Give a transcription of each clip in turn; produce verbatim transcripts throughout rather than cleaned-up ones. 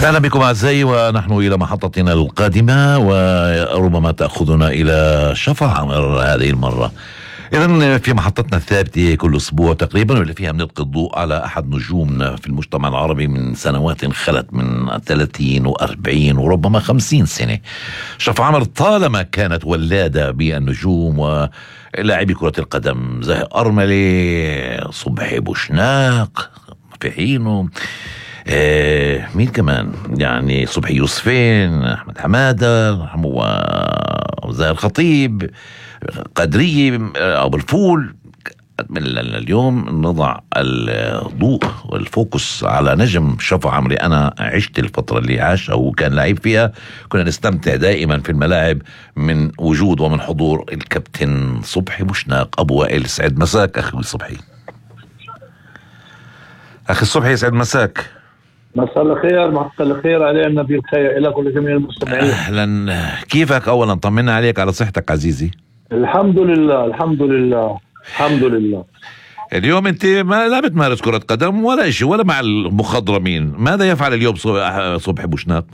أهلا بكم أعزائي، ونحن إلى محطتنا القادمة وربما تأخذنا إلى شفا عمر هذه المرة. إذن في محطتنا الثابتة كل أسبوع تقريبا، واللي فيها بنلقي الضوء على أحد نجومنا في المجتمع العربي من سنوات خلت، من ثلاثين وأربعين وربما خمسين سنة. شفا عمر طالما كانت ولادة بالنجوم ولاعبي كرة القدم زي أرملة، صبحي بوشناق في حينه، آه مين كمان يعني، صبحي يوسفين، أحمد حمادة وزاهر الخطيب، قدرية، أبو الفول. من اليوم نضع الضوء والفوكس على نجم شفا عمري. أنا عشت الفترة اللي عاشها وكان لعيب فيها، كنا نستمتع دائما في الملاعب من وجود ومن حضور الكابتن صبحي بوشناق. أبو وائل، سعد مساك أخي صبحي. أخي صبحي سعد مساك. مساء الخير، مساء الخير علينا بالخير لك ولجميع المستمعين. أهلا، كيفك؟ أولا طمنا عليك، على صحتك عزيزي. الحمد لله الحمد لله الحمد لله. اليوم أنت ما لا بتمارس كرة قدم ولا شيء ولا مع المخضرمين، ماذا يفعل اليوم صبحي بوشناق؟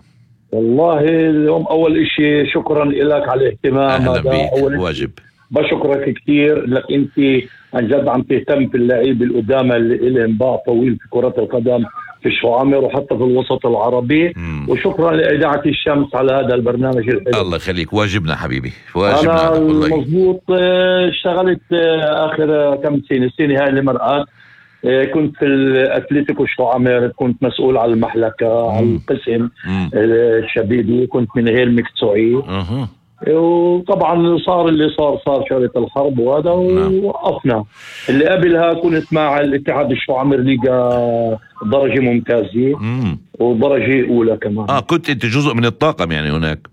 والله اليوم أول إشي شكرا لك على الاهتمام. أهلا بيك، واجب. بشكرك كثير لك، أنت عن جد عم تهتم في اللعيبة القدامى اللي لهم باع طويل في كرة القدم في شفا عمر وحتى في الوسط العربي. مم. وشكرا لإذاعة الشمس على هذا البرنامج الحلو. الله يخليك، واجبنا حبيبي، واجبنا. أنا مضبوط اشتغلت آخر كم سنة سنة هاي اللي مرقت، كنت في الأتليتيكو شفا عمر، كنت مسؤول على المحلكة. مم. على القسم مم. الشبيبي، كنت من غير مكتوعي. أه. وطبعا صار اللي صار صار شغلة الحرب وهذا. نعم. ووقفنا. اللي قبلها كنت مع الاتحاد شفا عمر ليغا درجة ممتازة. مم. ودرجة أولى كمان. آه كنت أنت جزء من الطاقم يعني هناك؟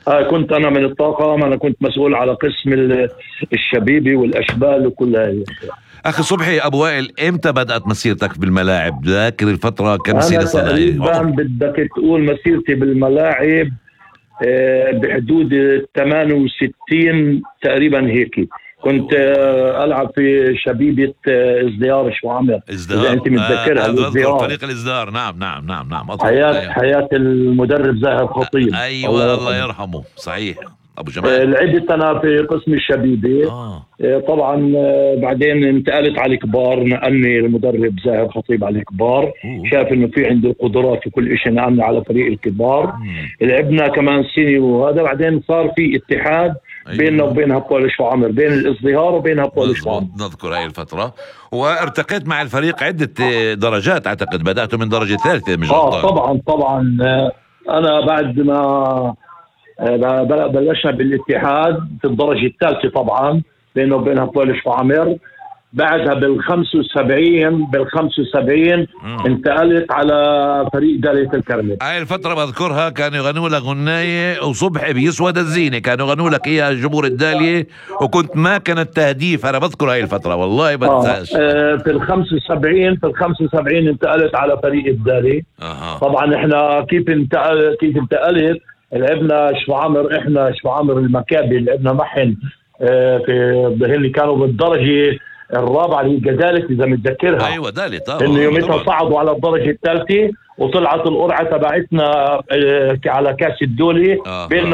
آه كنت أنا من الطاقم، أنا كنت مسؤول على قسم الشبيبي والأشبال وكل هاي. أخي صبحي، أبو وائل، إمتى بدأت مسيرتك بالملاعب؟ ذاكر الفترة كم سنة صار؟ تقريبا بدك تقول مسيرتي بالملاعب بحدود ثمانية وستين تقريبا هيك. كنت ألعب في شبيبة ازدهار شفا عمر، إذا أنت متذكرها. آه فريق الازدهار. نعم نعم نعم نعم. حياة حياة المدرب زاهر خطيب. أيوة الله, الله يرحمه. صحيح أبو جمال. لعبت أنا في قسم الشبيبة. آه. طبعا بعدين انتقلت على الكبار، نقلني المدرب زاهر خطيب على الكبار. أوه. شاف إنه في عندي القدرات في كل إشي، نقلني على فريق الكبار. مم. لعبنا كمان سنة وهذا، بعدين صار في اتحاد. أيوة. بيننا وبين هبول شفا عمر، بين الازدهار وبين هبول شفا عمر. نذكر هاي الفترة. وارتقيت مع الفريق عدة درجات، أعتقد بدأت من درجة ثالثة. مش آه طبعا طبعا. أنا بعد ما بلشنا بالاتحاد في الدرجة الثالثة طبعا، بينه وبين هبول شفا عمر. بعدها بالخمسة وسبعين بالخمسة وسبعين انتقلت على فريق دالية الكرمل. هاي الفترة بذكرها كانوا يغنوا لك غناية وصبحي بيسود الزينة، كانوا يغنوا لك إياها جمهور الدالية، وكنت ما كانت تهديف. أنا بذكر هاي الفترة والله بنساش. آه في الخمسة وسبعين في الخمسة وسبعين انتقلت على فريق الدالية. آه. طبعا احنا كيف انتقل كيف انتقلت لعبنا شفا عمر، احنا شفا عمر المكابي لعبنا معهم آه في اللي كانوا بالدرجة الرابعة اللي جدالة إذا متذكرها. أيوة دالة. إنه يومتها صعدوا على الدرجة الثالثة وطلعت القرعة تبعتنا على كاس الدولة. آه. بيننا